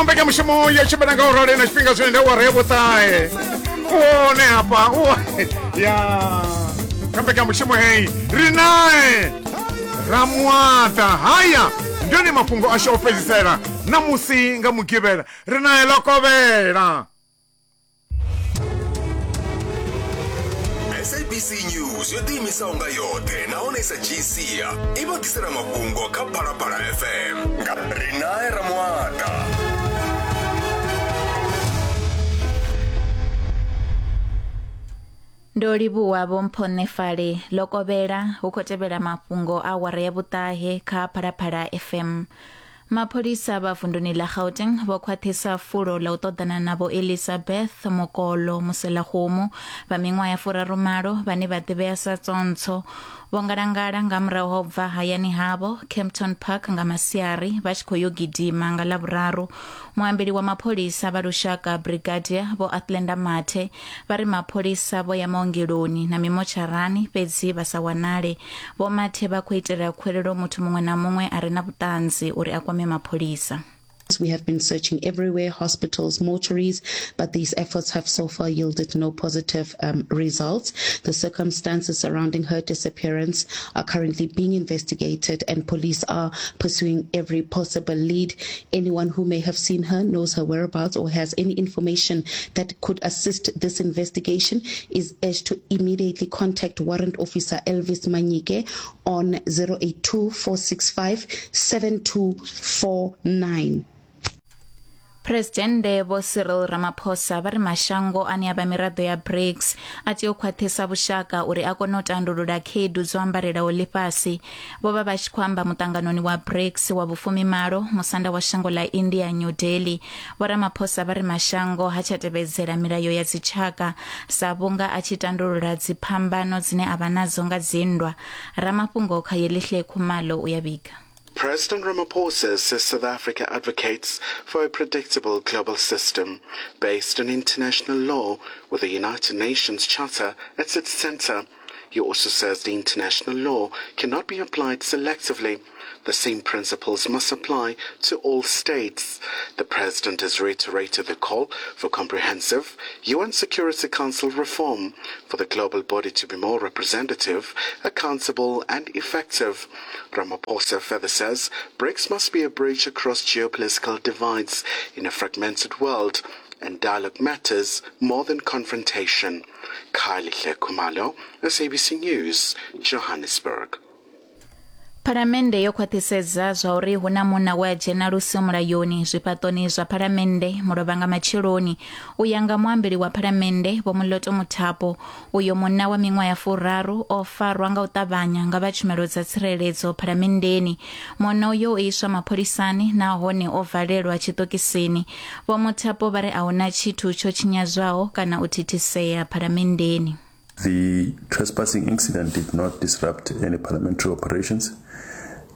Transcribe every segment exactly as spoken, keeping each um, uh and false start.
Mbekanyamushumo ya tshimbila nga u rali na tshifhinga zwine nda awara ya vhuṱahe one hafha ya kha mbekanyamushumo heyi ri nae Ramuaḓa. Haya ndi one mafhungo ashu o fhedzisela ṋamusi nga Mugivhela ri nae Lokovhela. S A B C News yo ḓiimisaho nga yoṱhe nahone i sa dzhii sia i vha ḓisela mafhungo kha Phalaphala F M nga Rinae Ramuaḓa. Ndo livhuwa Vho Mphonefale. Lokovhela hu khou tevhela mafhungo a awara ya vhuṱahe kha Phalaphala F M. Mapholisa vha vunduni ḽa Gauteng vho khwaṱhisa fulo ḽa u ṱoḓana na Vho Elizabeth Mokolo Muselakgomo vha miṅwaha ya furarumalo vhane vha ḓivhea sa Tsontsho. Vho ngalangala nga murahu ha u bva hayani havho Kempton Park nga masiari vha tshi khou yo gidima nga Ḽavhuraru. Muambeli wa mapholisa vha lushaka Brigadier Vho Athlenda Mathe vha ri mapholisa vho ya maongeloni na mimotsharani fhedzi vha sa wanale. Vho Mathe vha khou itela khwelelo muthu muṅwe na muṅwe a re na vhuṱanzi uri a kwame mapholisa. We have been searching everywhere, hospitals, mortuaries, but these efforts have so far yielded no positive um, results. The circumstances surrounding her disappearance are currently being investigated and police are pursuing every possible lead. Anyone who may have seen her, knows her whereabouts, or has any information that could assist this investigation is urged to immediately contact Warrant Officer Elvis Manyike on zero eight two, four six five, seven two four nine. President Vho Cyril Ramaphosa vha ri mashango ane a vha miraḓo ya BRICS a tea u khwaṱhisa vhushaka uri a kone u tandulula khaedu dzo ambarelaho ḽifhasi. Vho vha vha tshi khou amba muṱanganoni wa BRICS wa vhufumimalo musanda wa shango ḽa India New Delhi. Vho Ramaphosa vha ri mashango ha tsha tevhedzela milayo ya dzitshaka sa vhunga a tshi tandulula dziphambano dzine a vha nadzo nga dzinndwa. Ramafhungo kha Yelihle Khumalo u ya vhiga. President Ramaphosa says South Africa advocates for a predictable global system based on international law with the United Nations Charter at its center. He also says the international law cannot be applied selectively. The same principles must apply to all states. The president has reiterated the call for comprehensive U N Security Council reform for the global body to be more representative, accountable and effective. Ramaphosa further says BRICS must be a bridge across geopolitical divides in a fragmented world, and dialogue matters more than confrontation. Kylie Khumalo, S A B C News, Johannesburg. Phalamennde yo khwaṱhisedza zwa uri hu na munna we a dzhena lusi mulayoni zwifhaṱoni zwa phalamennde mulovha nga matsheloni. U ya nga muambeli wa phalamennde Vho Moloto Muthapo, uyo munna wa miṅwaha ya furaru o farwa nga u ṱavhanya nga vha tshumelo dza tsireledzo phalamenndeni. Munna uyo o iswa mapholisani nahone o valelwa tshiṱokisini. Vho Muthapo vha ri a huna tshithu tsho tshinyadzwaho kana u thithisea phalamenndeni. The trespassing incident did not disrupt any parliamentary operations,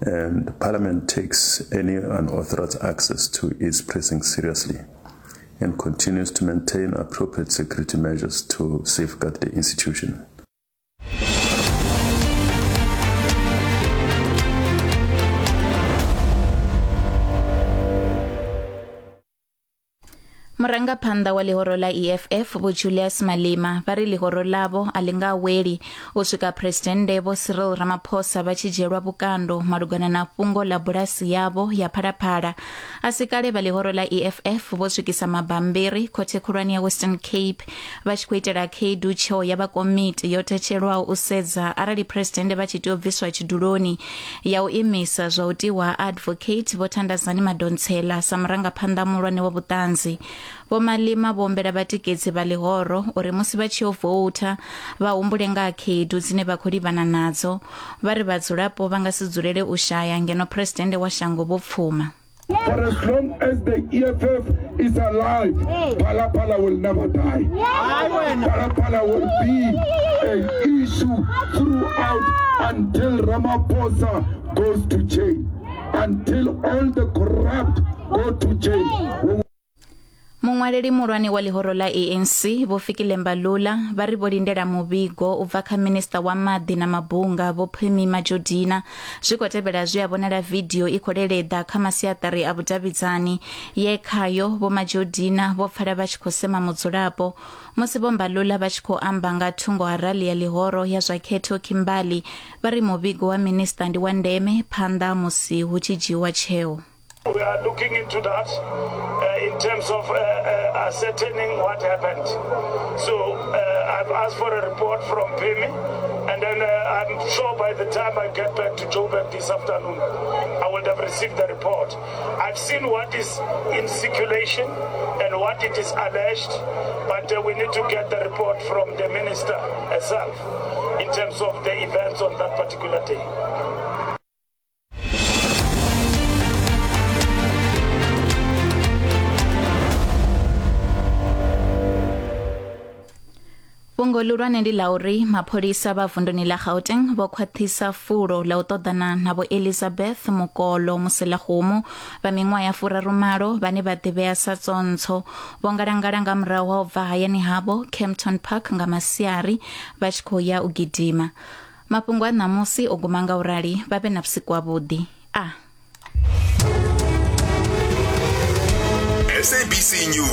and Parliament takes any unauthorized access to its precinct seriously and continues to maintain appropriate security measures to safeguard the institution. Murangaphanḓa wa ḽihoro ḽa E F F Vho Julius Malema vha ri ḽihoro ḽavho a ḽi nga weli u swika Presidennde Vho Cyril Ramaphosa vha tshi dzhielwa vhukando malugana na fhungo ḽa bulasi yavho ya Phalaphala. A si kale vha ḽihoro ḽa E F F vho swikisa mabambiri khothe khulwane ya Western Cape vha tshi khou itela khaedu tsheo ya vha komiti yo thetshelwaho u sedza arali Presidennde vha tshi tea u bviswa tshiduloni ya u imisa zwa u tiwa Advocate Vho Thandazani Madonsela sa murangaphanḓa muhulwane wa vhuṱanzi. Vho Malema vho humbela vhatikedzi vha ḽihoro uri musi vha tshi yo voutha vha humbule nga khaedu dzine vha khou livhana nadzo. Vha ri vhadzulapo vha nga si dzulele u shaya ngeno presidennde wa shango vho pfuma. For as long as the E F F is alive, Phalaphala will never die. Phalaphala will be an issue throughout until Ramaphosa goes to jail, until all the corrupt go to jail. Muṅwaleli muhulwane wa ḽihoro ḽa A N C Vho Fikile Mbalula vha ri vho lindela muvhigo u bva kha minista wa maḓi na mabunga Vho Pemmy Majodina. Zwi khou tevhela zwi a vhonala vidio i khou leleḓa kha masiaṱari a vhudavhidzani ye khayo Vho Majodina vho pfala vha tshi khou sema mudzulapo musi Vho Mbalula vha tshi khou amba nga thungo ha rali ya ḽihoro ya zwa khetho Kimberley. Vha ri muvhigo wa minista ndi wa ndeme phanḓa musi hu tshi dzhiiwa tsheo. We are looking into that uh, in terms of uh, uh, ascertaining what happened. So uh, I've asked for a report from Pemmy, and then uh, I'm sure by the time I get back to Joburg this afternoon, I will have received the report. I've seen what is in circulation and what it is alleged, but uh, we need to get the report from the minister herself in terms of the events on that particular day. Fhungo ḽihulwane ndi ḽa uri mapholisa vha vunduni ḽa Gauteng vho khwaṱhisa fulo ḽa u ṱoḓana na Vho Elizabeth Mukolo Muselakhumu vha miṅwaha ya furarumalo vhane vha ḓivhea sa Tsontsho. Vho ngalangala nga murahu ha u bva hayani havho Kempton Park nga masiari vha tshi khou ya u gidima. Mafhungo a ṋamusi o guma nga u rali. Vha vhe na vhusiku havhuḓi. A S A B C News.